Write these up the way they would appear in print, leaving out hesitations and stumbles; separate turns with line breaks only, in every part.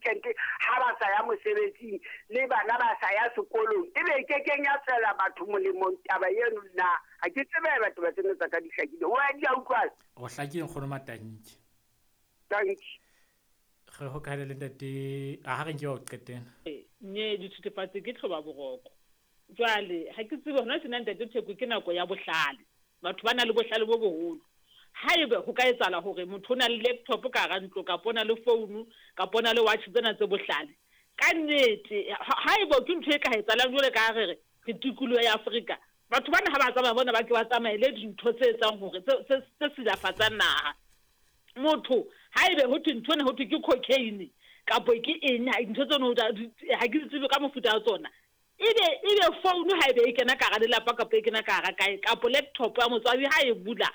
weekend ha ba sa ya mosebetsing le bana ba sa ya sekolong, ebe e kekeng ya tswela batho molemong taba eno na? Ha ke tsebe batho ba tsena tsa ka di hlakile. Wa di a utlwala?
Go hlakile, nkgono Matanki.
Thank you.
Re hokahane le ntate a ha re nke wa o qetela.
Nye dithethefatsi ke tlhoba boroko. Jwale ha ke tsebe hona tjena, ntate Theko, ke nako ya bohlale. Batho ba na le bohlale bo boholo. Haebe ho ka etsahala hore motho o na le laptop ka hara ntlo, kapa o na le founu, kapa o na le watch tsena tse bohlale, ka nnete haeba ke ntho e ka etsahalang jwale ka ha re re re tikoloho ya Afrika, batho bana ha ba tsamaya bona ba ke ba tsamaele dintho tse etsang hore tse silafatsang naha. Motho haebe ho thwe ntho ena ho thwe ke cocaine kapo ke eng, ntho tseno ha ke di tsebe ka mofuta wa tsona. Ebe founu haebe e kena ka hara lelapa kapa e kena ka hara kae, kapo laptop ya motswadi ha e bula,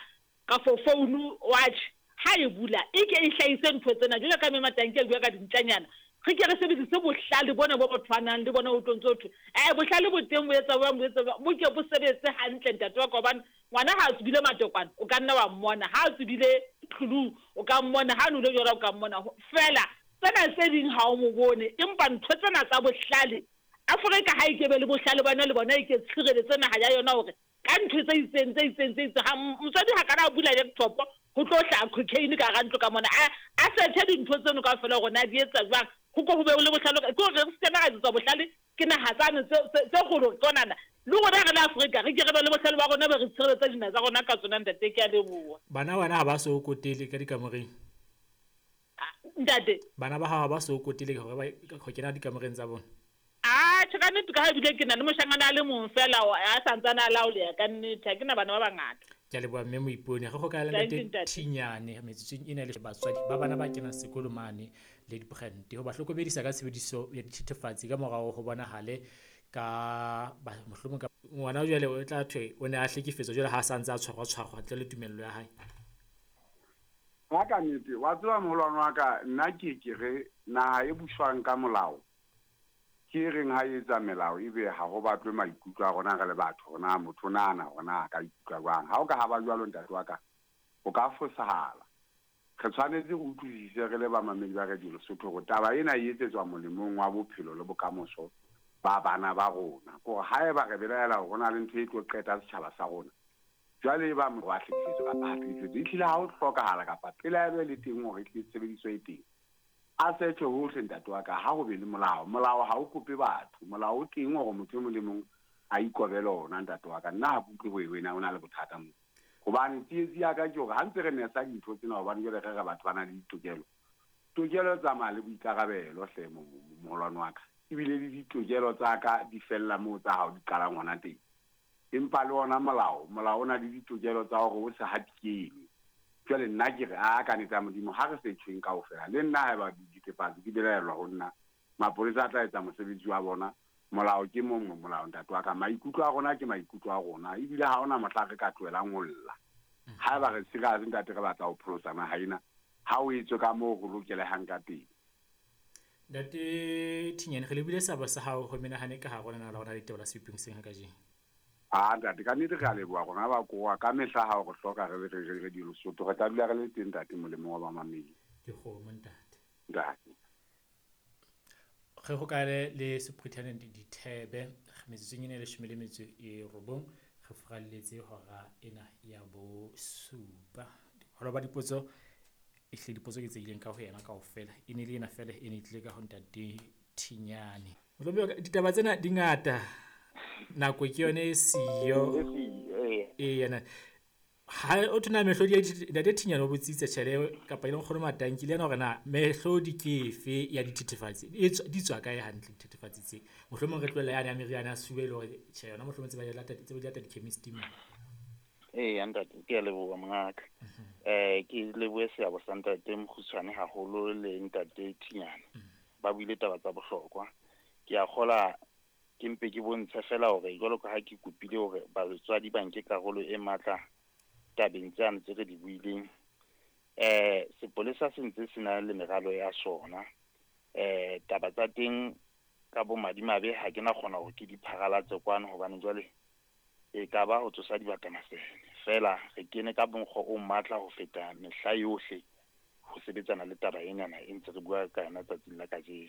kafo founu, watch ha e bula, e ke e hlahise ntho tsena. Jwalo ka Mme Matanki a bua ka dintjanyana, re ke re sebedise bohlale bona bo batho ba nang le bona, ho tlo ntso thwe bohlale bo teng, bo etsa jwang, bo etsa jwang, bo ke bo sebetse hantle, ntate wa ka. Hobane ngwana ha a tsubile matokwane o ka nna wa mmona, ha a tsubile tlulu o ka mmona, ha a nwele jwala o ka mmona, feela tsena tse ding ha o mo bone. Empa ntho tsena tsa bohlale, Afrika ha e ke be le bohlale ba yona, le bona e ke tshireletse naha ya yona hore ka ntho tse itseng tse itseng tse itseng, ha motswadi ha kana a bula laptop ho tlo hlaha cocaine ka hara ntlo ka mona, a search dintho tseno kaofela hore na di etsa jwang, ho ko ho be le bohlale. Ke hore re se ke ra etsetswa bohlale ke naha tsane tse kgolo tsonana, le rona re le Afrika re ke re be le bohlale ba rona, be re tshireletsa dinaha tsa rona ka tsona, ntate. Ke a leboha.
Bana wena ha ba so kotele ka dikamoreng?
Ntate?
Bana ba hao ha ba so kotele hore ba ho kena dikamoreng tsa bona?
Ah, tjhe, ka nnete, ka ha ebile ke na le moshanyana a le mong fela a santsane a laoleha, ka nnete ha ke na bana ba bangata.
Ke a leboha, mme Moipone. Re hokahane le
Thank you,
ntate
ntate.
Thinyane metsotsong ena le batswadi ba bana ba kenang sekolo mane le dibrand ho ba hlokomedisa ka tshebediso ya dithethefatsi ka morao ho bonahale ka mohlomong ka ngwana jwale o tla thwe o ne a hlekefetswa jwale ha a sa ntse a tshwarwa tshwarwa ntle le tumello ya hae.
Ha ka nnete, wa tseba moholwane wa ka, nna ke re naha e buswang ka molao ke e reng ha e etsa melao ebe ha ho batlwe maikutlo a rona re le batho, hore na motho o nahana hore na a ka ikutlwa jwang. Ha o ka ha ba jwalo, ntate wa ka, ho ka fosahala. Re tshwanetse re utlwisise re le bamamedi ba Radio Lesotho hore taba ena e etsetswa molemong wa bophelo le bokamoso ba bana ba rona. Ke hore haeba re belaela hore ho na le ntho e tlo qeta setjhaba sa rona, jwale e ba wa hlekefetswa kapa ha hlekefetswe, ehlile ha ho hlokahala kapa pelaelo e le teng hore ehlile tshebediso e teng, a search hohle, ntate wa ka, ha ho be le molao. Molao ha o kope batho, molao o teng hore motho e mong le mong a ikobele ona, ntate wa ka. Nna ha ke utlwe ho wena o na le bothata moo, hobane tsietsi ya ka ke hore ha ntse re nesa dintho tsena, hobane jwale re re batho ba na le ditokelo, tokelo e tsamaya le boikarabelo hle, moholwane wa ka. Ebile le ditokelo tsa ka di fella moo tsa hao di qalang hona teng. Empa le ona molao, molao o na le ditokelo tsa hore o se hatikelwe. Jwale nna ke re, a ka nnete ya Modimo, ha re setjheng kaofela. Le nna haeba dithethefatsi di belaellwa ho nna, mapolesa a tla etsa mosebetsi wa bona. Molao ke mongwe molao, ntate wa ka. Maikutlo a rona ke maikutlo a rona, ebile ha hona mohla re ka tlohelang ho lla. Haeba re serious, ntate, re batla ho pholosa naha ena, ha o etswe ka moo ho lokelehang ka teng.
Ntate Thinyane, re lebile seabo sa hao ho menahane ka hare ho lenaneo la rona la ditaba la Seboping hoseng ha kajeno.
Ah, ntate, ka nnete re a leboha rona ba koa ka mehla ha o re hloka re le Radio Lesotho, re tla dula re le teng, ntate, molemong wa bamamedi.
Ke kgomo, ntate.
Ntate.
Re hokahane le Superintendent Dithebe metsotsong ena e 19, re furalletse hora ena ya bosupa. Holo ba dipotso, ehlile dipotso ke tse ileng ka ho yena kaofela, e ne le ena fela e ne e tlile ka ho ntate Thinyane. Mohlomong ditaba tsena di ngata, nako ke yone e siyo. Ee, yena ha o thona mehlodi ya ntate Thinyane o botsitse tjhele kapa e leng nkgono Matanki le yena hore na mehlodi ke efe ya dithethefatsi, di tswa kae hantle dithethefatsi tse. Mohlomong re tlohella yane ya meriana ya sefuba e le hore tjhe yona mohlomong tse ba di lata, tse ba di lata di-chemist-ing mo.
Ee, ntate, ke a leboha mongaka. Ke lebohe seabo sa ntate Mokgutshwane haholo le ntate Thinyane. Ba buile taba tsa bohlokwa. Ke a kgola ke mpe ke bontshe fela hore jwalo ka ha ke kopile hore batswadi ba nke karolo e matla tabeng tsane tse re di buileng. Sepolesa se ntse se na le meralo ya sona. Taba tsa teng ka bomadimabe ha ke na kgona hore ke di pharalatse kwano, hobane jwale e ka ba ho tsosa dibaka masene. Feela re kene ka mokgwa o matla ho feta mehla yohle ho sebetsana le taba enana e ntse re bua ka yona tsatsing la kajeno.